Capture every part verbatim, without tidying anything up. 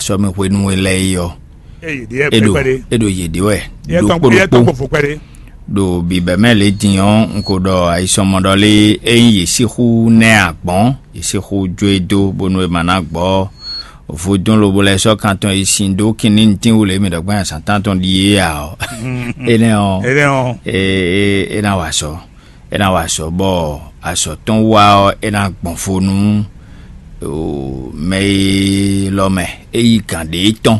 sɔ́mi hwenu e lɛ́ɛ é ɔ́, é ɖo é ɖo yě ɖe wɛ ɖokpó ɖokpó. Ɖo bǐbɛ́ mɛ lě din ɔ́, un ko ɖɔ ayisɔnmɔ ɖɔ lé ényí yě sixú nɛ́ agbɔ̌n, yě sixú jó e dó bónú è ma ná gbɔ vodún lobo lɛ́ɛ sɔ́ kan tɔn yi sin dó kínní ntín wú lě mǐ ɖɔ gbɛ́ azǎn tántɔn ɖíe ǎ ɔ́, énɛ́ ɔ́, é ná wa azɔ̌. É ná wa azɔ̌ bɔ azɔ̌ tɔn wá ɔ́, é ná gbɔn fo nú mɛ e lɔ mɛ é yí gǎn ɖě tɔn.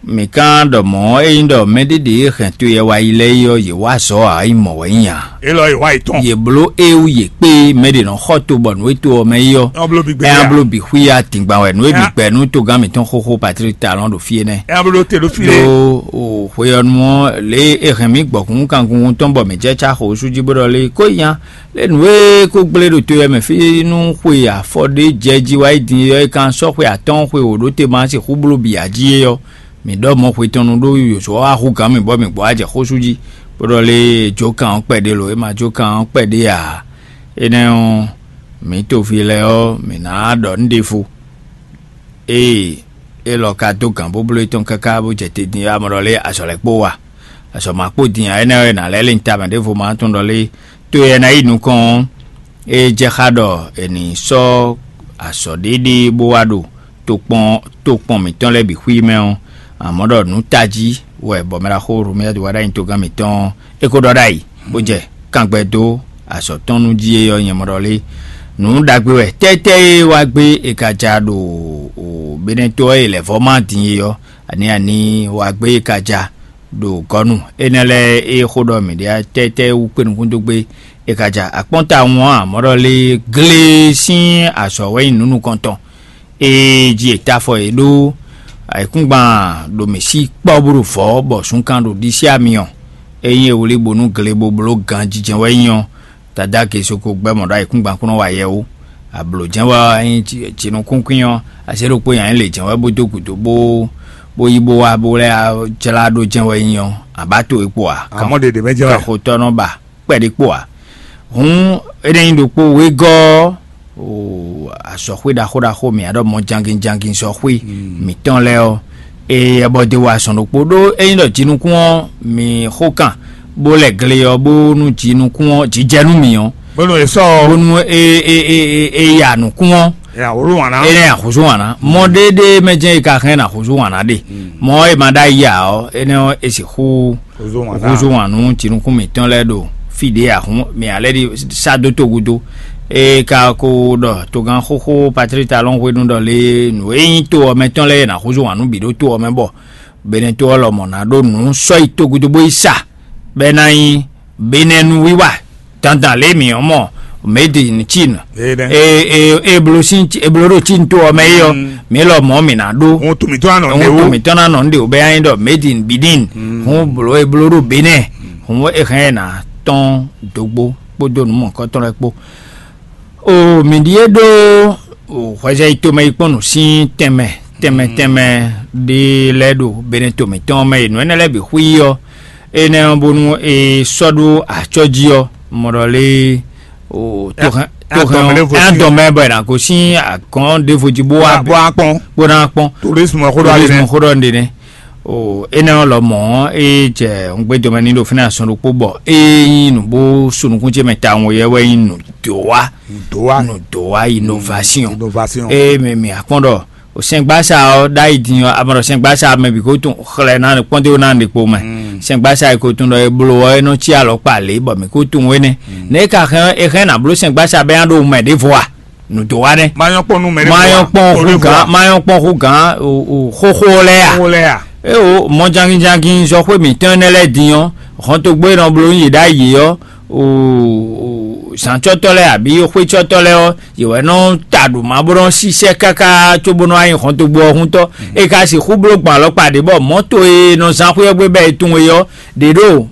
Mǐ ka ɖɔ mɔ̌, ényí ɖɔ mɛɖé ɖě e hɛn to yɛ wá yi lɛ́ɛ é ɔ́, yě wá azɔ̌ ǎ, é nyí mɔ̌ wɛ é nyí ǎ. Élɔ́ è wá yi tɔn. Yě bló éwu yě kpé mɛ ɖě nɔ xɔ to bɔ nǔ e to ɔ́ mɛ é ɔ́, Ɔ́ bló bǐ gbé ɛ ǎ. Bló bǐ xwí ya dǐngban wɛ nǔ e bǐ Ɛ á. Gbɛ nú togán mǐtɔn xóxó Patrick Talon ɖo fí énɛ́. Ɛ á bló te ɖó fí lé. Ɖó o hwe ɔ́ nu ɔ́, lě e hɛn mǐ gbɔ̌kún kangungun tɔn bɔ mǐ jɛ cá xo sú jí bó ɖɔ lé kó nya lé nǔ e kó gblé ɖo to ɔ́ mɛ fí nú xwe afɔ ɖé jɛ jí wá yi din ɔ́, é kan sɔ́ xwe atɔ́ɔ́n xwe wǒ ɖó te ma sixú bló bǐ ǎ jí é ɔ́, mǐ ɖɔ mɔ̌ hwe tɔn nu ɖó yǒzo ɔ́ wá hú gǎn mì bɔ mǐ gbɔ wá jɛ xósú jí, bó ɖɔ lé jó kan ɔ́ kpɛɖé lo, é ma jó kan ɔ́ kpɛɖé ǎ. Énɛ́ ɔ́, mǐ toví lɛ́ɛ ɔ́, mǐ ná ɖɔ nǔ ɖěvo. Ée élɔ́ ka dó gǎn bóbló étɔn káká bó jɛ te din ɔ́, a mɔ ɖɔ lé azɔ̌ lɛ́ɛ kpó wa? Azɔ̌ ma kpó din ǎ, énɛ́ ɔ́, è nǎ lɛ́ lé nyi tamɛ ɖěvo ma tunwun ɖɔ lé tó e ná yi nukɔn ɔ́, é jɛ xá ɖɔ è nǐ sɔ́ azɔ̌ ɖé ɖé bó wá ɖo tokpɔn tokpɔn mǐtɔn lɛ́ɛ bǐ xwí mɛ ɔ́, amɔ̌ ɖɔ nǔ tají wɛ bɔ mɛ ɖaxó Romɛ́a wá ɖ'ayǐ togán mǐtɔn ɔ́, é ko ɖɔ ɖ'ayǐ, bó jɛ kangbɛ dó azɔ̌ tɔn nú jí é ɔ́, nyɛ mɔ ɖɔ lé. Nǔ ɖagbe wɛ tɛ́tɛ́ e wá gbé è ka ja ɖo Benɛ́to ɔ́ e lɛ̌ vɔ́ má din é ɔ́, ani ani wá gbé è ka ja ɖo gɔ̌nu énɛ́ lɛ́ɛ e xó ɖɔ mǐ ɖe tɛ́tɛ́ wú kpé nukúndógbé è ka ja akpɔ́n tawun ɔ́, amɔ̌ ɖɔ lé glé sín azɔ̌ wɛ nyí nǔ nukɔntɔn. Ée jí è ta afɔ yě ɖó ayǐkúngban ɖo mǐ sí kpɔ́ bó ɖo vɔ̌ bɔ zunkan ɖo ɖisí amyɔ. Ényí è wlí bónú gle bó bló ganjijɛ wɛ nyí ɔ́, Dadá Gesoko gbɛ́ mɔ̌ ɖɔ ayǐkúngban kún nɔ wa yɛ ó. Ablǒ jɛ́n wɛ ɔ́, ényí jinukúnkwín ɔ́, azě ɖokpó nyi anyǐ lě jɛ́n wɛ bó dó gǔdo bó bó yí bó wá bó lɛ́ jlá ɖó jɛ́n wɛ nyí ɔ́, abǎ to e kpo ǎ? Amɔ̌ ɖeɖe mɛ jɛ́n wɛ. Kɛxotɔ́ nɔ ba kpɛɖé kpo ǎ. Hǔn é ná nyí ɖokpó wegɔ́ ɔ́, o azɔ̌xwé ɖaxó ɖaxó mǐ aɖɔ mɔ jangin jangin zɔxwé mǐtɔn lɛ́ɛ ɔ́, eye abɔ de wa azɔn ɖokpó ɖó ényí ɖɔ jinukún ɔ́ mi xó kan bó lɛ gle ɔ́ bónú jinukún ɔ́ jijɛ nú mǐ ɔ́, bónú è sɔ́ ɔ́. Bónú e e e e e ya nǔkún ɔ́, nya wǒ wǎn ná. É nɛ́ axúzú wǎn ná. Mɔ ɖéɖé mɛ jɛ́n è ka hɛn ná axúzú wǎn ná ɖe. Mɔ e ma ɖó ayi ǎ ɔ́, énɛ́ ɔ́ è sixú húzú wǎn nú jinukún mǐtɔn lɛ́ɛ ɖo fí ɖě ahún mǐ ǎ lɛ́ ɖi sá dó togudo. É ka ko ɖɔ togán xóxó Patrík Talɔ́n hwenu ɖɔ lé nǔ e nyí to ɔ́ mɛ tɔn lɛ́ɛ e nǎ húzú wǎn nú bǐ ɖó to ɔ́ mɛ bɔ Benɛto ɔ́ lɔmɔ̌ ná ɖó nǔ sɔ́ yi togudo bó yi sa, bɔ é ná nyí Benɛnu wiwa dandan lě mǐ ɔ́ mɔ made in Chine. Eblo sín eblo ɖo Chine to ɔ́ mɛ é ɔ́, mǐ lɔmɔ̌ mǐ ná ɖó. Hun to mǐtɔn ná nɔ Hun to mǐtɔn ná nɔ nɖe wǒ bɛ nya nyi ɖɔ made in Benin. Hun blo eblo ɖo Benɛ. Hun e hɛn ɛ ná tɔn dǒgbó kpódó nǔ mɔ̌hunkɔtɔn lɛ́ɛ kpó. O mǐ ɖíe ɖó hwɛzɛ yi tomɛ yi kpɔ́n nǔ sín tɛnmɛ tɛnmɛ tɛnmɛ ɖé lɛ́ɛ ɖo Benɛto mǐtɔn mɛ e nǔ énɛ́ lɛ́ɛ bǐ xwí ɔ́, énɛ́ ɔ́ bónú è sɔ́ ɖó acɔ́ jí ɔ́, mɔ ɖɔ lé o tohɛn tohɛn ɛ dɔn mɛ bɔ è nǎ gosín agɔ̌n ɖěvo jí bó wá bó wá kpɔn bó ná kpɔn tourisme xó ɖɔ tourisme xó ɖɔ nɖe nɛ. O énɛ́ ɔ́ lɔmɔ̌ é jɛ ŋgbé dɔmɛ ní ɖo fínɛ́ asɔn ɖokpó bɔ é nyí nǔ bó sú nukún ce mɛ tawun yɛ wɛ nyí nǔ dó wá nǔ dó wá innovation innovation. Eye mɛ mǐ akpɔ́n ɖɔ o sɛngbásá ɔ́ ɖ'ayǐ din ɔ́, a mɔ ɖɔ sɛngbásá mɛ bǐ ko tún xlɛ́ ná kpɔ́ndéwó ná ɖe kpo mɛ. Sɛngbásá e ko tún ɖɔ e bló ɔ́ é nɔ cí alɔ kpa lě bɔ mǐ ko tunwun énɛ́. Nɛ̌ ka hɛn é hɛn ná bló sɛngbásá bɛ nya ɖo mɛ ɖěvo a? Nǔ dó wá nɛ́. Mayɔ́ kpɔn nú mɛ ɖěvo a? Mayɔ́ kpɔn hú gǎn, mayɔ́ kpɔn hú gǎn xóxó lɛ́ɛ a? Xóxó lɛ́ɛ a? Eo mɔ janginjangin zɔxwé mǐtɔn énɛ́ lɛ́ɛ din ɔ́, hɔntogbó e nɔ bló nú yě ɖ'ayǐ ɔ́, zǎncɔ́tɔ́ lɛ́ɛ abǐ xwécɔ́tɔ́ lɛ́ɛ ɔ́, yě wɛ nɔ ta ɖo ma bó nɔ sísɛ́ káká cóbó nɔ wá nyí hɔntogbó ɔ́ húntɔ́. É ka sixú bló gbɔn alɔkpa ɖě bɔ mɔ̌to e nɔ zán xwé ɔ́ gbé bɔ è tunwun é ɔ́, ɖě ɖo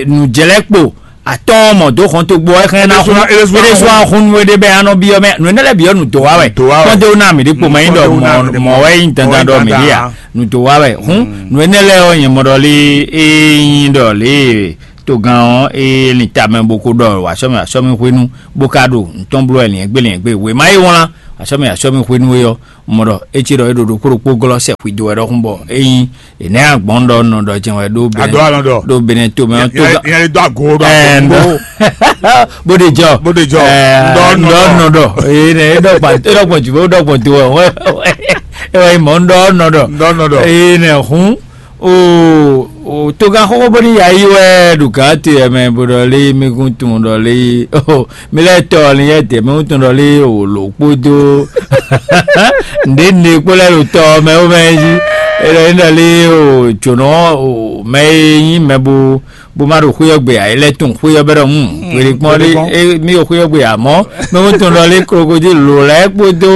nǔjlɛ́kpo atɔ́ɔ́n mɔ dó hɔntogbó ɔ́, é hɛn ná hún é ɖésú wá hún nú é ɖé bɔ é nɔ byɔ́ mɛ nǔ énɛ́ lɛ́ɛ byɔ́ nǔ dó wá wɛ. Kpɔ́ndé wó ná mǐ ɖé kpomɛ nyí ɖɔ mɔ̌ wɛ nyí dandan ɖɔ mǐ ɖe a? Nǔ dó wá wɛ. Hǔn nǔ énɛ́ lɛ́ɛ ɔ́, nyɛ mɔ ɖɔ lé é nyí ɖɔ lě togán ɔ́ é lin tamɛ bó ko ɖɔ wǎ sɔ́ mì wǎ sɔ́ mì hwenu bó ka ɖo nǔ tɔn bló wɛ lǐɛ́ngbé lǐɛ́ngbé wěma e wlán Asɔ́mi asɔ́mi hwenu e ɔ́, un mɔ ɖɔ é cí ɖɔ é ɖo ɖokpó ɖokpó glɔ́ sɛ xwidó wɛ ɖɔhun bɔ ényí è nɛ́ agbɔ̌n ɖɔ nɔ ɖɔ jɛn wɛ ɖó Adó alɔn ɖɔ. Ɖó Benɛto mɛ ɔ́ tó Ìyẹn ìyẹn lè dó àgó ɖo àgó ŋgó. Bó ɖe jɔ. Bó ɖe jɔ. Ŋdɔ nɔ ɖɔ. Ŋdɔ nɔ ɖɔ. Ee nɛ é ɖɔ kpa é ɖɔ kpɔn jù bó ɖɔ kpɔn tó wɛ. É wɛ mɔ ŋdɔ nɔ ɖɔ. Ŋdɔ nɔ ɖɔ. Ee nɛ hun. O o togan xɔxɔ bó ní ya yi wɛ ɖo gǎn te yɛ mɛ bó ɖɔ lé mi kún tun ɖɔ lé o mi lɛ tɔ ni yɛ tɛ mi kún tun ɖɔ lé o lǒ kpódó ǹdě ǹdě kpó lɛ ɖo tɔ mɛ ó mɛ jí. É ɖɔ ní ɖɔ lé o jǒnɔ o mɛ e nyí mɛ bó bó má ɖo xwé ɔ́ gbe ǎ, é lɛ́ tunwun xwé ɔ́ bɛ́ ɖɔ hǔn hwelekpɔ́n ɖé. Mí ɖo xwé ɔ́ gbe ǎ mɔ̌ mɛ kún tunwun ɖɔ lé krokodíl lǒ lɛ́ɛ kpódó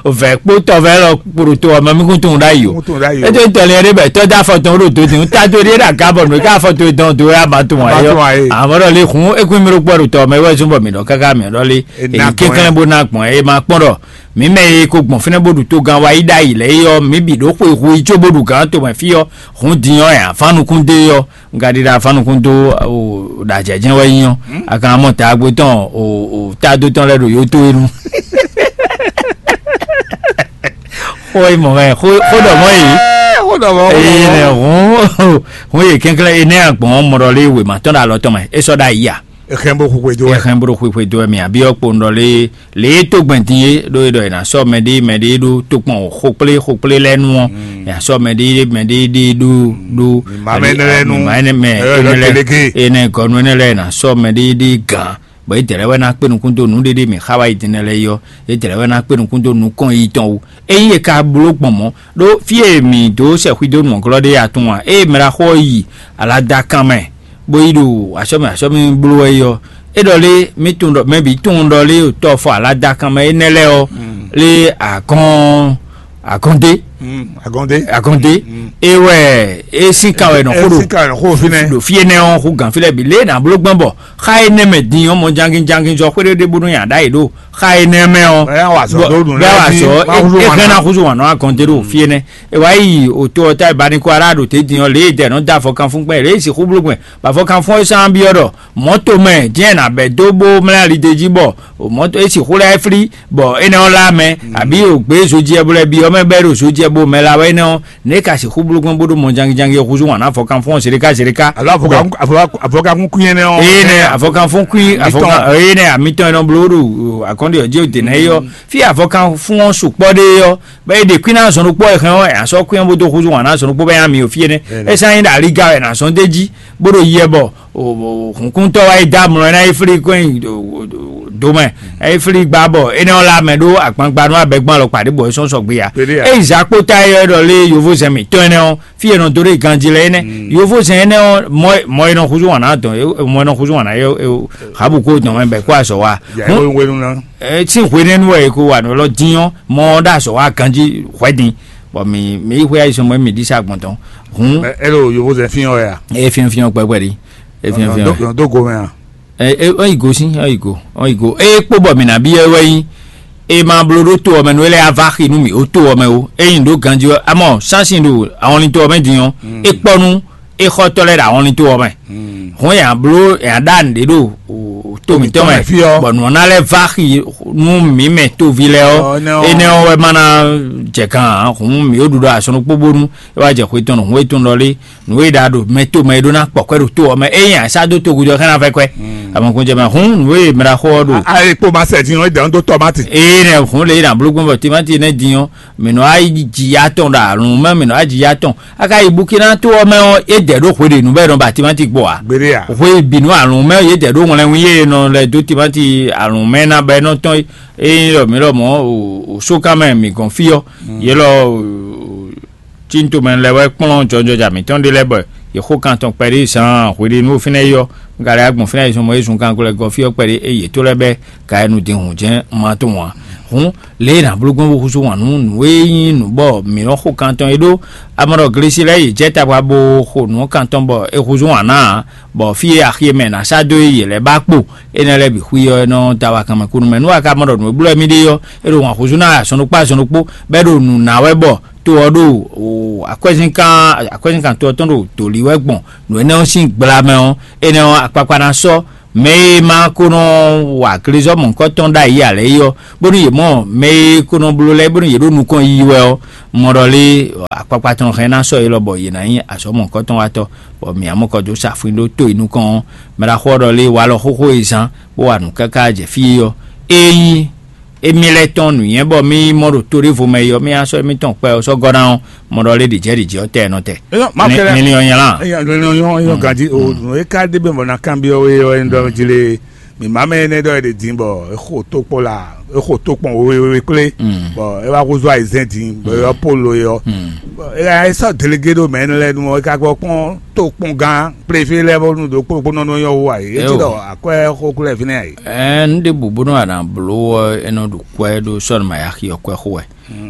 vɛ̌ kpó tɔvɛ́ lɔ kpo ɖo to ɔ́ mɛ mí kún tunwun ɖ'ayǐ o. Kún tunwun ɖ'ayǐ o. É tó tɔlin ɛɖé bɛ tɔ́ dó afɔ tɔn ɖo dodin ta dó ɖíe ɖo aga bɔ nǔ e ká afɔ towe dɔn dó wɛ a ma tunwun ayé ɔ. Amɔ̌ ɖɔ lé hǔn é kún mì ɖo kpɔ́ ɖo tɔ mɛ é wɛ zún bɔ mǐ ɖɔ káká mǐ ɖɔ lé. Èmi ná gbɔn kéklɛ́n bó ná gbɔn é ma kpɔ́n ɖɔ mǐ mɛ e ko gbɔn fínɛ́ bó ɖu togán wá yi ɖ'ayǐ lɛ́ɛ é ɔ́ mǐ bǐ ɖó xwe hu yi có bó ɖu gǎn tomɛ fí ɔ́ hǔn din ɔ́ ɛ afán nukún dó é ɔ́. Un ka ɖi ɖo afán nukún dó o ɖa jɛ̌jɛ́n wɛ nyí ɔ́, a ka mɔ taagbo tɔn o o tádo tɔn lɛ́ɛ ɖo yó tó é nu. Xó e mɔ wɛ xó xó ɖɔ mɔ yìí. Xó ɖɔ mɔ xó ɖɔ Eye mɔ. Nɛ hǔn hǔn yě kɛnklɛ́n é nɛ́ agbɔ̌n mɔ ɖɔ lé wěma tɔn ɖo alɔ tɔn mɛ é sɔ́ ɖo ayi a? Exɛn bó xwixwe dó wɛ. Exɛn bó ɖo xwixwe dó wɛ mì abí ɔ́ kpo un ɖɔ lé lě e tó gbɛn din é ɖó é ɖɔ è nǎ sɔ́ mɛɖé mɛɖé ɖó tokpɔn xokplé xokplé lɛ́ɛ nu ɔ́, è nǎ sɔ́ mɛɖé mɛɖé ɖé ɖó ɖó Mǐmá mɛ énɛ́ lɛ́ɛ nu. Mǐmá énɛ́ mɛ Ɛ, énɛ́ lɛ́ɛ Tɛlɛgé. Énɛ́ gɔnu énɛ́ lɛ́ɛ è nǎ sɔ́ mɛɖé ɖé gǎn, bɔ é dɛ̌ lɛ́ɛ wɛ ná kpé nukún dó nǔɖéɖé mǐ xa wá yi din lɛ́ɛ é ɔ́, é dɛ̌ lɛ́ɛ wɛ ná kpé nukún dó nukɔn yi tɔn wú. Ényí è ka bló gbɔn mɔ̌, ɖó fí e mǐ dó sɛxwí dó nǔ ɔ́ glɔ́ ɖé a tunwun a? Ée mɛ ɖaxó ɔ́ yi aladakan mɛ, bó yi ɖo asɔ́mɛ asɔ́mɛ bló wɛ é ɔ́, é ɖɔ lé mí tunwun ɖɔ mɛ bǐ tunwun ɖɔ lé ɖo tɔ́ fɔ aladakan mɛ énɛ́ lɛ́ɛ ɔ́, lé agɔ́n agɔ́ndé Agɔndé. Agɔndé é wɛ é sín kan wɛ nɔ xó ɖo Síkà xó fínɛ́. Ɖo fí énɛ́ ɔ́ xó gǎn fí lɛ́ɛ bǐ lé nǎ bló gbɔn bɔ xá énɛ́ mɛ din ɔ́ mɔ jangin jangin zɔ xwéɖéɖé bónú nyi aɖá yě ɖo xá énɛ́ mɛ ɔ́. Bɛ́ wá sɔ, bɛ́ wá sɔ é hɛn ná xúzú wǎn nɔ akɔntɛ ɖo fí énɛ́. É wá yi òtó ɔ́ tá ìbánikɔ ará ɖo tɛ́ din ɔ́ lě e dɛ nɔ dó afɔkanfún gbɛn lě e sixú bló gbɛn bɔ afɔkanfún ɔ́ sán byɔ́ ɖɔ mɔ̌to mɛ jɛ́n nǎ bɛ́ dó bó mlá ali d'é jí bɔ mɔ̌to é sixú lɛ́ flí bɔ énɛ́ ɔ́ lá mɛ àbí ògbé zojɛ bó lɛ́ byɔ́ mɛ bɛ́ ɖo zojɛ bó mɛ lá wɛ énɛ́ ɔ́ nɛ̌ ka sixú bló gbɔn bó ɖó mɔjangijangin ɔ́ húzú wǎn ná afɔkanfún ɔ́ zéɖéká zéɖéká. Alo avɔkakun avɔkakun kún yẹn nɛ ɔ́. Eye nɛ avɔkanfún kún avɔkan eye nɛ amitɔn yɛ nɔ bló ɖo akɔnɖe ɔ́ jí òdè nɛ yɔ fí avɔkanfún ɔ́ sukpɔ ɖe yɔ bɛ ede kún ná zɔn ɖokpɔ yɛ hɛn ɔ́ yà sɔ kún yɛ bó dó húzú wǎn ná zɔn ɖokpɔ bɛ yà mi ò fí yɛ nɛ. Esa nyi ɖo aliga wɛ nà zɔn dé jí bó ɖo yɛ bɔ hǔnkúntɔ́ wá yi dó amlɔ ɛ ná yi flí kɔn nyi domɛ ɛ yi flí gbá bɔ énɛ́ ɔ́ lá mɛ ɖó agbagbanu abɛgbɔn alɔkpa ɖé bɔ é sɔ́ sɔgbe ya. Eyi zǎkpótá e ɔ́ ɖɔ lé yovózɛn mǐtɔn énɛ́ ɔ́ fí e nɔ dó ɖo ganjí lɛ́ɛ énɛ́. Yovózɛn énɛ́ ɔ́ mɔ mɔ e nɔ húzú wǎn ná dɔn mɔ e nɔ húzú wǎn ná yɛ habu kó dɔn mɛ bɛ kó azɔ wa. Sín hwenɛ́nu wɛ e ko wa nɔ lɔ dín ɔ́ mɔ ɔ́ ɖo azɔ wa ganjí hwɛ́din. Bɔ mi mi yi xwé ayi sɔmɔ mi ɖi sa gbɔn tɔn. Hun. Ɛ ɛ lo yovózɛn fín ɔ́ ya. E fín fín ɔ́ kpɛkpɛ ɖi. E fín fín ɔ́. Dó dó go mɛ a. Ɛ ɛ ɔ́ yi go sín ɔ́ yi go ɔ́ yi go eye kpó bɔ mǐ ná byɔ́ ɛ wɛ nyí e ma bló ɖó to ɔ́ mɛ nú é lɛ́ yá vá xi nú mǐ ó to ɔ́ mɛ ó. Ényí ɖó ganjí ɔ́ amɔ sánsìn ɖo ahɔnlin to ɔ́ mɛ din ɔ́ é kpɔ́ nú é xɔ́tɔ́ lɛ́ɛ ɖo ahɔnlin to ɔ́ mɛ. Hɔn yǎ bló yǎ ɖa nǔɖé ɖo to mǐtɔn mɛ bɔ nǔ ɔ́ ná lɛ́ vá xi nú mǐ mɛ toví lɛ́ɛ ɔ́. Énɛ́ ɔ́ wɛ má ná jɛ kan ǎ. Hǔn mǐ ó ɖu ɖɔ asɔnukpó bónú é wá jɛ xwe tɔn nɔ hǔn e tɔn lɔ lé nǔ e ɖa ɖo mɛ to mɛ e ɖó ná kpɔ kwɛ ɖo to ɔ́ mɛ eye asa dó togu jɔ xɛn na fɛ kwɛ. Amɔkun jɛ mɛ hun nǔ e mɛ ɖa xɔ ɔ́ ɖo. Ayi kpo ma sɛ din ɔ́ dɛn dó tɔmati. Eye nɛ hun le na bló gbɔn bɔ timati nɛ din ɔ́ mɛ nɔ ayi dzi ya tɔn ɖo alun mɛ mɛ nɔ ayi dzi ya tɔn aka yi bukina to ɔ́ mɛ ɔ́ e dɛ ɖó hwe ɖe nǔ bɛ nɔ ba timati gbɔ a. Gbede a. Hwe binu alun mɛ ye dɛ ɖó ŋlɛ ŋu ye nɔ lɛ dó timati alun mɛ na bɛ nɔ tɔn eye lɔ mi lɔ mɔ o so kan mɛ mi gɔn fi ɔ́ ye lɔ. Tí n tomɛ lɛ́ɛ wɛ kplɔ́n jɔjɔja mǐtɔn ɖé lɛ́ɛ bɔ yě xo kan tɔn kpɛɖé zaan hweɖénu fínɛ́ é ɔ́, un ka lɛ́ wá gbɔn fínɛ́ yi zɔn mɔ é zun kan glɛ́ gɔ́fí ɔ́ kpɛɖé é yě tó lɛ́ɛ bɛ́ ka ɛ nu din hǔn jɛ́n un ma tunwun ǎ. Hǔn lě e è nǎ bló gbɔn bó húzú wǎn nú nǔ e nyí nǔ bɔ mǐ nɔ́ xo kan tɔn é ɖó amɔ̌ ɖɔ Glesi lɛ́ɛ yě jɛ tagba bó xo nǔ kan tɔn bɔ é húzú wǎn ná ǎ, bɔ fí e axi e mɛ è nǎ sá dó é yě lɛ́ɛ ba kpo énɛ́ lɛ́ɛ bǐ xwí ɔ́ é nɔ da wá kanmɛ kú nú mɛ. Nú a ka mɔ ɖɔ nǔ e bló wɛ mì ɖe ɔ́, é ɖo wǎn húzú ná azɔn ɖokpó azɔn ɖokpó, bɔ é ɖo nǔ ná wɛ bɔ to ɔ́ ɖo o akwɛ́zínkan akwɛ́zínkan to ɔ́ tɔn ɖo dǒ li wɛ gbɔn nǔ énɛ́ ɔ́ sín gbla mɛ ɔ́, énɛ́ ɔ́ akpakpa ná sɔ́ Mɛ e ma ko nɔ wa glezɔ́ mɔ̌hunkɔtɔn ɖ'ayǐ ǎ lɛ́ɛ é ɔ́, bónú yě mɔ mɛ e ko nɔ bló lɛ́ɛ bónú yě ɖo nukɔn yiyi wɛ ɔ́, mɔ ɖɔ lé akpakpa tɔn hɛn ná sɔ́ yě lɔ bɔ yě ná nyí azɔ̌ mɔ̌hunkɔtɔn watɔ́, bɔ mǐ ǎ mɔ kɔ dó sa fwin ɖó to e nukɔn ɔ́. Mɛ ɖaxó ɔ́ ɖɔ lé walɔ xóxó e zán bó wa nǔ káká jɛ fí é ɔ́, ényí émí lɛ́ɛ tɔn nǔnywɛ́ bɔ mí mɔ ɖo to ɖěvo mɛ é ɔ́, mí ná sɔ́ émítɔn kpɛ ɔ́ sɔ́ gɔ́ ná ɔ́, mɔ ɖɔ lé ɖě jɛ ɖě jí ɔ́ tɛ nɔ tɛ. Eyɔn, ma kɛlɛ. Linlin ɔ́ nyla. Eyɔn, linlin ɔ́ nyɔ́ ganjí o. Nǔ e ka ɖe bɛ mɔ ná kanbyɔ́ we ɔ́, é ɖɔ jí lé. Mǐ má mɛ énɛ́ ɖɔ é ɖe din bɔ é xo tó kpɔ́n la, é xo tó kpɔn wewe kplé, bɔ é wá húzú ayizɛ́n din bɔ é yɔ polo é ɔ́. Bɔ é sɔ́ delégé ɖo mɛ énɛ́ lɛ́ɛ nu ɔ́, é ka gbɔ kpɔ́n tó kpɔ́n gán préfé lɛ́ɛ bó nu ɖo kpókpónɔ nɔ nyɔ́ wú ǎ é. É ti ɖɔ akwɛ́ xó kúlɛ fínɛ́ ǎ é. Ɛɛ, nu ɖěbǔ bónú a nǎ bló ɔ́, é nɔ ɖo kwɛ́ ɖó sɔ́ nɔ ma ya xi ɔ́ kwɛ́ xó wɛ.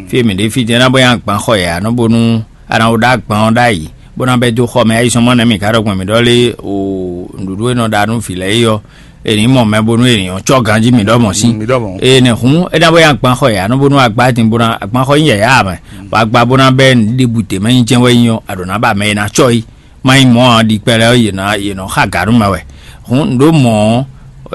Fí e mǐ ɖe fí din é ná bɔ nyi agban xɔ yě ǎ nɔ bónú a nǎ wó ɖó agban ɔ́ ɖ'ayǐ, bó ná bɛ́ dó xɔ mɛ. Ayizɔ́n mɔ nɛ́ mǐ ka ɖɔ gbɔn mǐ ɖɔ lé o nǔɖuɖu e nɔ ɖa nú vǐ lɛ́ɛ é ɔ́, è nǐ mɔ mɛ bónú è nǐ ɔ́ cɔ́ ganjí mǐ ɖɔ mɔ̌ sí. Mǐ ɖɔ mɔ̌. Eye nɛ́ hǔn é ná bɔ nyi agban xɔ yě ǎ nɔ bónú a gbá din bó ná agban xɔ nyí yɛ̌yá ǎ mɛ, bɔ a gbá bó ná bɛ́ nǔɖébǔ dě mɛ nyí jɛ́n wɛ nyí ɔ́, a ɖǒ ná ba mɛ e ná cɔ́ yí. Má nyí mɔ̌ ǎ, ɖi kpɛɖɛ ɔ́, yě ná yě nɔ xa gǎ nú mɛ wɛ. Hǔn nǔ ɖó mɔ̌ ɔ́,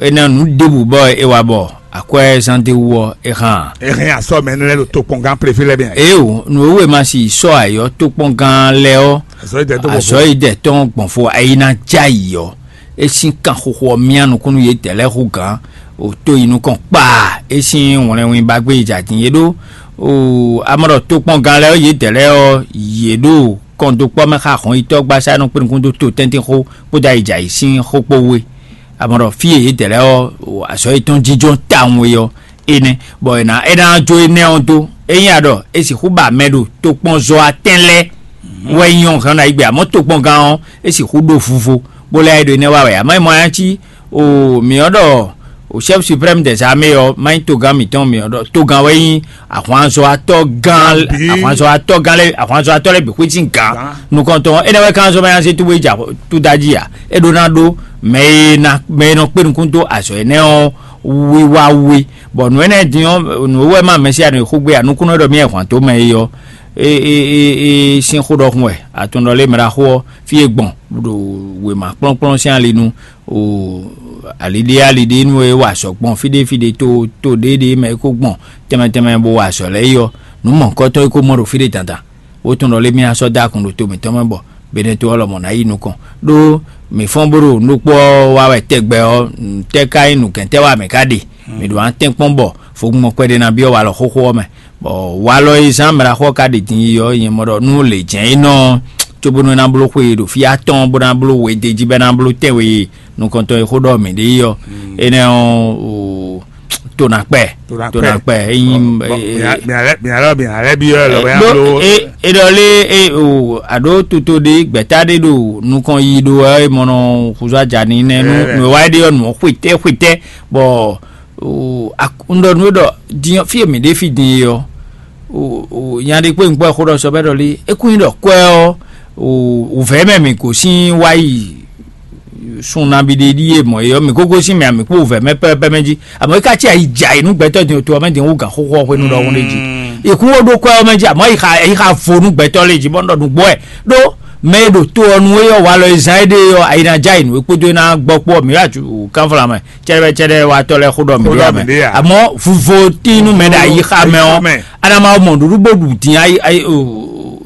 énɛ́ nǔ ɖěbǔ bɔ é wa bɔ akwɛ́ zán d'é wú ɔ́, é hán ǎ. É hɛn asɔ mɛ énɛ́ lɛ́ɛ ɖo tokpɔngán préfé lɛ́ɛ bɛ. Éeǒ, nǔ e wú è ma si sɔ́ ayǐ ɔ́, tokpɔngán lɛ́ɛ ɔ́, Azɔ̌ yi dɛ tó azɔ̌ yi dɛ tɔn gbɔn fo ayi ná jɛ ayǐ ɔ́, é sín kan xixo ɔ́ myá nukúnnú yědɛɛ lɛ́ɛ hú gǎn, o tó yi nukɔn kpaa, é sín wlɛnwin ba gbé yi jɛ atin yě ɖó. O amɔ ɖɔ tokpɔngán lɛ́ɛ ɔ́, yědɛɛ lɛ́ɛ ɔ́, yě ɖo kɔn dó kpɔ́ mɛ xá hɔn yi tɔ́ gbasá nɔ kpé nukún dó to tɛ́ntin xó kpódó ayi jɛ ayǐ sín xó kpó wú é. Amɔ ɖɔ fí e yě dɛ lɛ́ɛ ɔ́, azɔ̌ yětɔn jínjɔ́n tawun é ɔ́, énɛ́, bɔ è nǎ é ná jó énɛ́ ɔ́ dó. Ényí a ɖɔ è sixú ba mɛ ɖo tokpɔnzɔ́ atɛn lɛ́ɛ wɛ nyí ɔ́ hɛn ná yi gbé, amɔ̌ tokpɔngán ɔ́, é sixú ɖó vuvo, bó lɛ́ ɖo énɛ́ wa wɛ. Amɔ̌ é mɔ nya cí o mǐ ɔ́ ɖɔ o chef suprême des armées ɔ́, má nyí togán mǐtɔn mǐ ɔ́ ɖɔ togán wɛ nyí ahwanzɔ́watɔ́ gán, ahwanzɔ́watɔ́ gán lɛ́ɛ, ahwanzɔ́watɔ́ lɛ́ɛ bǐ xwé sín gǎn. Nukɔntɔn énɛ́ wɛ kán zɔ́n mɛ nya zé túbú yi jɛ tó da jí ǎ. É ɖó ná ɖó mɛ e ná mɛ e nɔ kpé nukún dó azɔ̌ énɛ́ ɔ́ wiwa wí. Bɔ nǔ énɛ́ din ɔ́, nǔ e wɛ má mɛ sí anɔ xógbé anukúnnɔ ɖɔ mì wɛ hwan tó mɛ é ɔ́, é é é é sín xó ɖɔhun wɛ. Atɔn ɖɔ lé mɛ ɖaxó ɔ́, fí e gbɔn ɖo wěma kplɔ́nkplɔ́n sín ali nu o aliɖé aliɖé nú e wa azɔ̌ gbɔn fí ɖé fí ɖé tó tó ɖéɖé mɛ é kó gbɔn tɛnmɛ tɛnmɛ bó wa azɔ̌ lɛ́ɛ é ɔ́, nǔ mɔ̌hunkɔtɔn é kó mɔ ɖo fí ɖé dandan. Wó tɔn ɖɔ lé mì asɔ́ dó akun ɖo to mǐtɔn mɛ bɔ Benɛto ɔ́ lɔmɔ̌ ná yi nukɔn. Ɖó mǐ fɔ́n bó ɖo nukpó ɔ́ wa wɛ tɛgbɛ ɔ́, tɛ́ ka nyí nǔkɛntɛ́ wa mǐ ka ɖe? Mǐ ɖo atɛ́n kpɔ́n bɔ vodún mɔkpɛ́ ɖé ná byɔ́ walɔ xóxó ɔ́ mɛ. Bɔ walɔ e zán mɛ ɖaxó ɔ́ ka ɖe din yi ɔ́, nyɛ mɔ ɖɔ nú lě jɛ́n é nɔ cóbónú é ná bló xwe e ɖo fí atɔ́ɔ́n bó ná bló we d'é jí bɔ é ná bló tɛ́nwe e nukɔntɔn e xó ɖɔ mǐ ɖe é ɔ́, énɛ́ ɔ́, to ná kpɛ. To ná kpɛ. Ényí mǐalɛ mǐalɛ mǐalɛ byɔ́ ɛ lɔ bɔ é ná bló. É ɖɔ lé é o aɖó toto ɖé gbɛ̌ta ɖé ɖo nukɔn yi ɖó ɛ mɔ nɔ xúzú aja ní nɛ nú nǔ e wá é ɖe ɔ́ nǔ ɔ́ xwetɛ́ xwetɛ́ bɔ un ɖɔ nú é ɖɔ din ɔ́ fí e mǐ ɖe fí din é ɔ́, nya ɖé kpé un kpɔ́ xó ɖɔ sɔ bɔ é ɖɔ lé é kún nyí ɖɔ kwɛ́ ɔ́ wǔvɛ́ mɛ mǐ gosín wá yi sun nabí ɖé ɖíe mɔ̌ é ɔ́, mǐ kó gosín mɛ a mǐ kpó wǔvɛ́ mɛ pɛ́pɛ́ mɛ jí. Àmọ́ é ka cí ayi jɛ ayǐ nú gbɛtɔ́ din to ɔ́ mɛ din wú gǎn xóxó ɔ́ hwenu ɖɔhun ɖé jí. È kún wó ɖó kwɛ́ ɔ́ mɛ jí, àmọ́ è xa è xa vo nú gbɛtɔ́ lé jí bɔ un ɖɔ nǔgbó wɛ ɖó mɛ e ɖo to ɔ́ nu é ɔ́ walɔ e zán éɖée ɔ́ ayi ná jɛ ayǐ nú é kpódó é ná gbɔ kpó ɔ́ mǐ wá kanfla mɛ cɛɖɛcɛɖɛ watɔ́ lɛ́ɛ xó ɖɔ mǐ ɖe ǎ mɛ. Àmọ́ vuvo tín nú mɛ ɖo ayi xa mɛ ɔ́, anama mɔ ɖuɖu bó ɖu din ayi ayi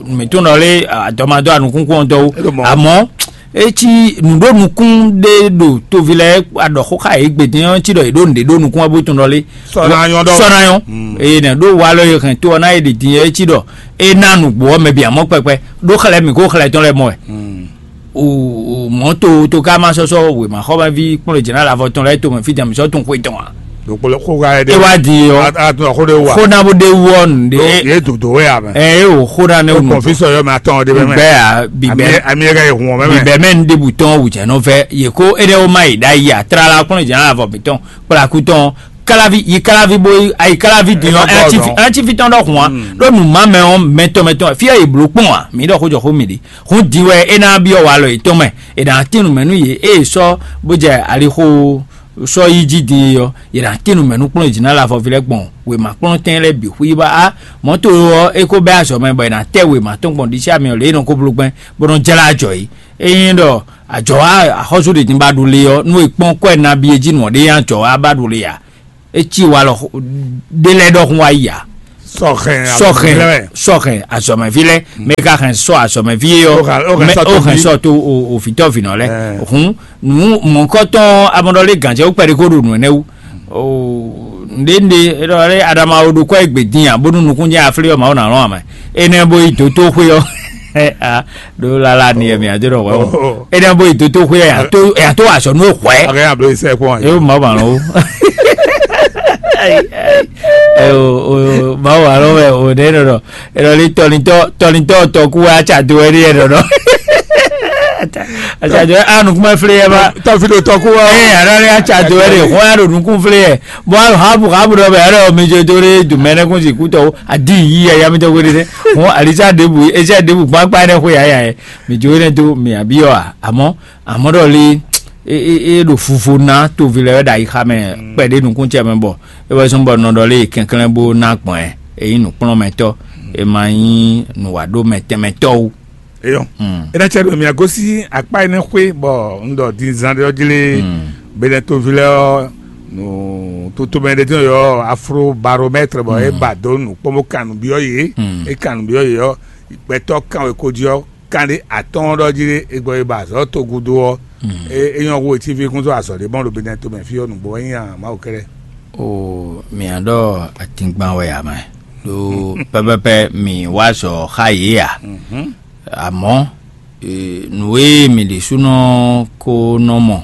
mǐtɔn nɔ lé adɔmadɔ anukúnkún ɔ́ dɔwó. Àmọ́ etí nǔɖó nukún ɖé ɖo toví lɛ́ɛ aɖɔ xó xa yě gbe din ɔ́ cí ɖɔ yě ɖó nǔɖé ɖó nukún ɔ́ bó tɔn ɖɔ lé sɔnayɔn ɖɔ sɔnayɔn eye nɛ ɖó walɔ e hɛn to ɔ́ ná yě ɖi din ɔ́ é cí ɖɔ é ná nǔgbó ɔ́ mɛ bǐ amɔ́ kpɛkpɛ ɖó xlɛ́ mǐ kó xlɛ́ tɔn lɛ́ɛ mɔ wɛ. O mɔ̌ to to ká má sɔ́ sɔ́ wěma xɔ́mɛví kplɔ́n jɛ̌ ná lavɔ tɔn lɛ́ɛ tomɛ fí tɛn mǐ sɔ́ tunwun xwe tɔn ǎ. Ɖokpolo xó ka ɖe é wá di ɔ́ a tún xó ɖe wá xó ná bó ɖe wú ɔ́ nǔɖé yé dòdò wɛ amɛ ɛ é o xó ná ne o nù kɔnfisɔ yɔ mɛ atɔn ɖe mɛ gbɛ a bibɛ ami yɛ ka yi hun ɔmɛ mɛ bibɛ mɛ nu ɖebu tɔn wù jɛ nɔ fɛ yě kó é ɖe ó má yi ɖa yi a tlala kplɔ́n jɛ ná lavɔ mǐtɔn kplaku tɔn kalavi yi kalavi bo yi ayi kalavi din ɔ́ ɛnɛtifi tɔn ɖɔ hun a ɖo nù má mɛ ɔ́ mɛtɔn mɛtɔn fí yɛ yi blo kpɔn a mǐ ɖɔ xó jɔ xó mi ɖi hun din wɛ é ná byɔ́ walɔ yětɔn mɛ è nǎ tín nǔ mɛ nú yě ée sɔ́ bó jɛ alixo sɔ́ yi jí din é ɔ́, yě ná tín nǔ mɛ nú kplɔ́n e jí ná lɛ avɔví lɛ́ɛ gbɔn wěma kplɔ́n tɛn lɛ́ɛ bǐ xwíba á. Mɔ̌ to ɔ́, é ko bɛ́ azɔ̌ mɛ bɔ è nǎ tɛ wěma tɔn gbɔn ɖisí amyɔ lě e è nɔ ko bló gbɛn bó nɔ́ jlá ajɔ é. Ényí ɖɔ ajɔ̌ wa axɔ́sú ɖě din ba ɖu le ɔ́, nú è kpɔ́n kwɛ́ nabí e jí nǔ ɔ́ ɖé nyi ajɔ̌ wa ba ɖu le ǎ. É cí wa lɔ ɖé lɛ́ɛ ɖɔhun wá yi ǎ. Sɔhɛn sɔhɛn sɔhɛn azɔmɛví lɛ́ɛ mɛ ka hɛn sɔ azɔmɛví é ɔ́. Ó hɛn sɔ tó òfìtɔ́ vǐnɔ lɛ́ɛ. Hǔn nǔ mɔ̌kɔtɔn amɔɖɔlé gǎnjɛ wú kpɛɖé kó ɖo nǔ énɛ́ wú. Nɖénɖé é ɖɔ lé adama wo ɖo kɔ́ é gbě dín ǎ bónú nukúnjɛ aflí ɔ́ mawu ná lɔn amɛ. Énɛ́ bó yi dǒtóxwé ɔ́. Ɖó lala ni ɛmɛ adó ɖɔ wɛ o. Énɛ́ bó yi dótó xwé ya tó ya tó azɔ nú hwɛ. Akɛ ya blo isɛ kpɔn. Ewo mawu ma lɔ wo. Ewo mawu ma lɔ wɛ o ɖe ɖɔ ɖɔ. Ɛlɔ li tɔlintɔ tɔlintɔ tɔku wɛ atsa do wɛ ɖi yɛ ɖɔ ɖɔ. Atsa do wɛ a nukumɛ fle yɛ ba. Tɔfi ɖo tɔku wa. Ee ara li atsa do wɛ ɖi hɔn ya ɖo nukun fle yɛ. Bɔn habu habu ɖɔ bɛ ɛlɔ mi jo do ɖe dumɛ ne kun si kutɔ adi yi ya ya mi tɔ ko ɖe ɖe. Hɔn alisa debu esa debu gbagba ne ko ya ya yɛ. Mi jo énɛ́ dó mi abyɔ́ a? Amɔ̌ amɔ̌ ɖɔ lé é é é ɖo fuvo ná toví lɛ́ɛ wɛ ɖo ayixa mɛ kpɛɖé nukúntiɛ mɛ bɔ é wɛ zɔ́n bɔ nɔ ɖɔ lé kɛnklɛ́n bó ná gbɔn ɛ. É nyí nǔkplɔ́nmɛtɔ́, é ma nyí nǔwaɖómɛtɛnmɛtɔ́ ó. Eyɔn. Mm. Eɖe cɛ ɖo mia gosí akpá énɛ́ xwé bɔ un ɖɔ din zan ɖe ɔ́ jlé. Mm. Benɛ toví lɛ́ɛ ɔ́ nǔ totomɛ ɖé tɔn yɔ afro baromètre bɔ é ba dó nǔ kpɔ́n bó kan nǔ byɔ́ yě. Mm. É kan nǔ byɔ́ yě ɔ́ gbɛtɔ́ kan wɛ ko jí ɔ́ kan ɖé atɔ́ɔ́n ɖɔ jí ɖé è gbɔ yi ba azɔ̌ togudo ɔ́. Mm. É é nyɔ́ hu etí fí kún sɔ́ azɔ̌ ɖé mɔ ɖo Benɛto mɛ fí ɔ́ nǔgbó wɛ nyí a Mawu kɛ́ɖɛ́. O mǐa ɖɔ atingban wɛ ǎ mɛ ɖó pɛpɛpɛ mǐ wá azɔ̌ xá yě ǎ. Mhm. Amɔ̌ e, nǔ e mǐ ɖésúnɔ ko nɔ mɔ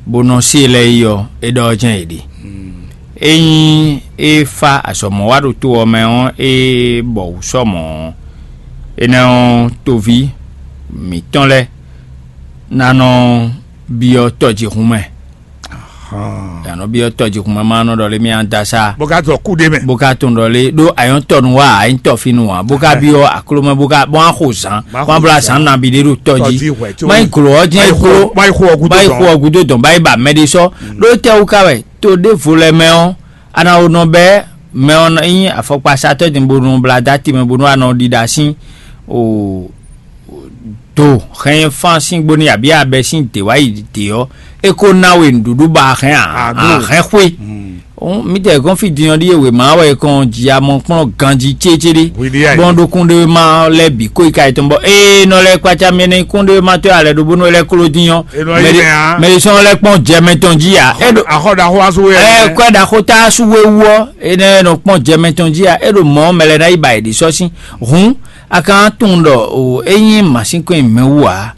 bó nɔ se lɛ́ɛ yi ɔ́, é ɖɔ jɛ́n è ɖe. Mm. Ényí é fá azɔ̌mɔwáɖótó ɔ́ mɛ ɔ́, é bɔ wǔ sɔ mɔ̌ ɔ́, énɛ́ ɔ́, toví mǐtɔn lɛ́ɛ ná nɔ byɔ́ tɔjíhún mɛ. Hɔn. Yǎ nɔ byɔ́ tɔjíhún mɛ ma nɔ ɖɔ lé mì a da sá. Bó ka zɔ kú ɖé mɛ. Bó ka tɔn ɖɔ lé ɖó ayɔ́ tɔ nu wá a nyí tɔ fi nu wá bó ka byɔ́ akló mɛ bó ka bó a xo zán bó a bla zán nabi ɖé ɖo tɔ jí. Tɔjí hwɛ tí má yi glo ɔ́ jẹ́ glo má yi xo ɔgú má yi xo ɔgú tó dɔn bá yi ba mɛ ɖé sɔ. Ɖó tɛ wú ka wɛ to ɖěvo lɛ mɛ ɔ́ a na wo nɔ bɛ mɛ ɔ́ nyí afɔkpasatɔ́ din bó nɔ bla dá ti mɛ bó nɔ a nɔ ɖiɖa sín o do hɛn fán sín gbóni abǐ abɛ sín dě wá yi dě ɔ́, é kó ná we nǔɖuɖu ba hɛn a hɛn xwé. Mítɛɛ gɔ́n fí din ɔ́ ɖíe wěma wɛ kɔn ji amɔ kplɔ́n ganjí cécéɖé bɔn ɖó kúnɖéwéma lɛ́ɛ bǐ kó yi ka yi tɔn bɔ ée nɔ lɛ́ɛ kpácá mɛ ní kúnɖéwéma tɔ́ alɛ ɖó bónú lɛ́ɛ kló dín ɔ́. Mɛ ɖé sɔ́n lɛ́ɛ kpɔ́n jɛ mɛ tɔn jí ya é ɖo Axɔ ɖaxó asú wɛ. Ɛ kɔ́ ɖaxó tá asú wéwu ɔ́ énɛ́ nɔ kpɔ́n jɛ mɛ tɔn jí ya é ɖo mɔ̌ mɛ lɛ́ɛ ná yi ba yě ɖi sɔ́ sín. Hǔn a ka tunwun ɖɔ o é nyí mǎsínkɔn e mɛ wú ǎ.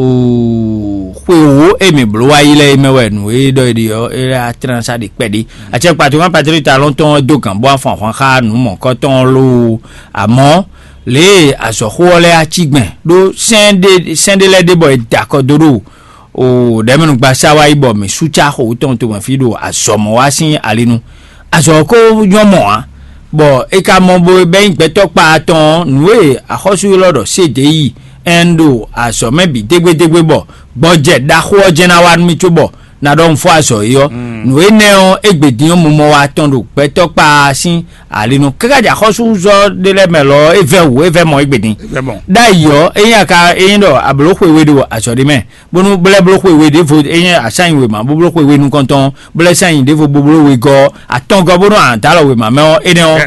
O xwe wǒ e mǐ bló wá yi lɛ́ɛ é mɛ wɛ nǔ e ɖɔ é ɖe ɔ́ é lɛ́ á tlɛ́n sá ɖi kpɛɖé. Acɛkpatɔ́ Patrík Talɔn tɔn ɔ́ dó gǎn bó afɔn ahwan xá nǔ mɔ̌kɔtɔn ɔ́ loo. Amɔ̌ lě e azɔ̌xó ɔ́ lɛ́ɛ á cí gbɛn ɖó sɛ́n ɖé sɛ́n ɖé lɛ́ɛ ɖe bɔ è da akɔ dó ɖo o ɖɛ̌mɛnúgbasá wá yi bɔ mǐ sú cá xo wú tɔn tomɛ fí ɖo azɔ̌ mɔ wá sín ali nu. Azɔ̌ ko nyɔ́ mɔ ǎ, bɔ é ka mɔ bo bɛ́ nyí gbɛtɔ́ kpa atɔn ɔ́, nǔ e axɔ́sú élɔ́ ɖɔ sédě yi ɛn ɖo azɔ̌ mɛ bǐ dégbédégbé bɔ gbɔjɛ ɖaxó ɔ́ jɛ́n ná wá nú mì cóbɔ ná ɖɔ un fɔ azɔ̌ é ɔ́. Nǔ énɛ́ ɔ́, égbé din ɔ́, mumɔ wa tɔn ɖo gbɛtɔ́ kpa sín ali nu. Káká jɛ axɔ́súzɔ ɖé lɛ́ɛ mɛ lɔ ɔ́, é vɛ́ wǔ, é vɛ́ mɔ égbé din. Ɖ'ayǐ ɔ́, ényí a ka ényí ɖɔ a blǒ xwe we ɖo azɔ̌ ɖé mɛ, bónú bó lɛ́ bló xwe we ɖěvo ényí a sá nyi wěma bó bló xwe we nukɔntɔn ɔ́, bó lɛ́ sá nyi ɖěvo bó bló wegɔ́ ɔ́, atɔngɔ́ bónú a nǎ dó alɔ wěma mɛ ɔ́, énɛ́ ɔ́,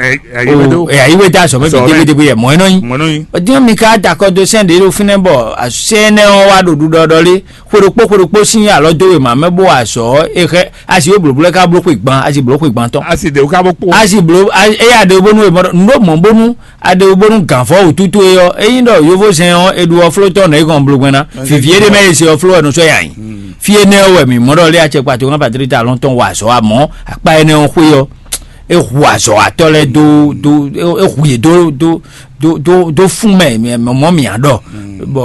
ɛ yí wé dó azɔ̌ mɛ bǐ dégbédégbé yɛ mɔ̌ é nɔ nyí. Dín ɔ́, mi ka da akɔ dó sɛ́n ɖě ɖo fínɛ́ bɔ sɛ́n énɛ́ ɔ́ wá ɖo ɖuɖɔɖɔ lé, xwe ɖokpó xwe ɖokpó sín alɔ dó wěma mɛ bó wa azɔ̌ ɔ́, é xɛ asi wó blǒbló ká bló xwe gban, asi blǒ xwe gban tɔn. Asi ɖě wú ká bó kpó. Asi blǒ, éyá ɖě bónú è mɔ ɖɔ nǔ ɖó mɔ̌ bónú a ɖe wú bónú gǎnvɔ́ wǔtútú é ɔ́, ényí ɖɔ yovózɛn ɔ́ è ɖo ɔ́ fló tɔn nɛ̌ gɔn bló gbɛn ná. Vivi éɖé mɛ e se ɔ́ fló wɛ nɔ sɔ́ yà nyi. Fí énɛ́ ɔ́ wɛ mǐ mɔ ɖɔ lé acɛkpa tó ná Patlíta alɔ́n tɔn wa azɔ̌ amɔ̌ akpá énɛ́ ɔ́ xwé ɔ́, é hu azɔ̌watɔ́ lɛ́ɛ dó dó é hu yě dó dó dó dó dó fún mɛ mɛ mɔ mǐ á ɖɔ. Bɔ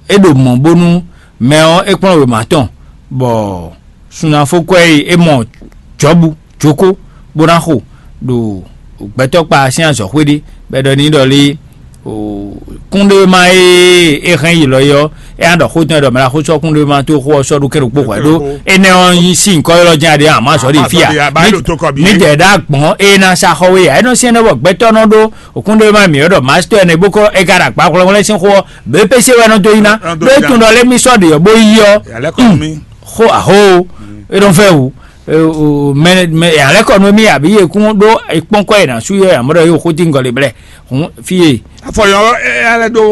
é ɖo mɔ̌ bónú mɛ ɔ́ é kplɔ́n wěma tɔn, bɔ sunafókwɛ́ e é mɔ Jɔ̌bu jókó bó ná xo ɖo gbɛtɔ́kpa sín azɔ̌xwé ɖé, bɔ é ɖɔ n'i ɖɔ lé Kúnɖéwéma e é hɛn yi lɔ yɔ, é á ɖɔ xó tɔn ɖɔ mɛ la xó sɔ́ kúnɖéwéma tó xó ɔ́ sɔ́ ɖó kɛ́ɖo kpó hwɛ ɖó. Énɛ́ ɔ́ yí sí nyǐkɔ élɔ́ jɛ́n aɖé àmọ́ azɔ̌ ɖe fíà. Ní jɛ ɖá gbɔn é ná sa xɔ wé ǎ é nɔ syɛ́n ɖɔ bɔ gbɛtɔ́ nɔ ɖó kúnɖéwéma mǐ ɔ́ ɖɔ mastɔ ɛnɛ bó kɔ é ka ɖo akpa hwlɛ́hwlɛ́ sín xó ɔ́ bě pé sé wɛ nɔ dó yí ná. Ɖó é tún ɖɔ lé mí sɔ́ ɖe ɔ́ bó yí ɔ́. Xó aho é nɔ fɛ wú. Mɛ mɛ alɛkɔ nú mì àbí yě kún ɖó kpɔ́nkɔ yě ná sú yɔ yě amɔ̌ ɖɔ yóò xótíngɔ lě blɛ́. Hǔn fí e. Afɔyɔ ɛ alɛ ɖó.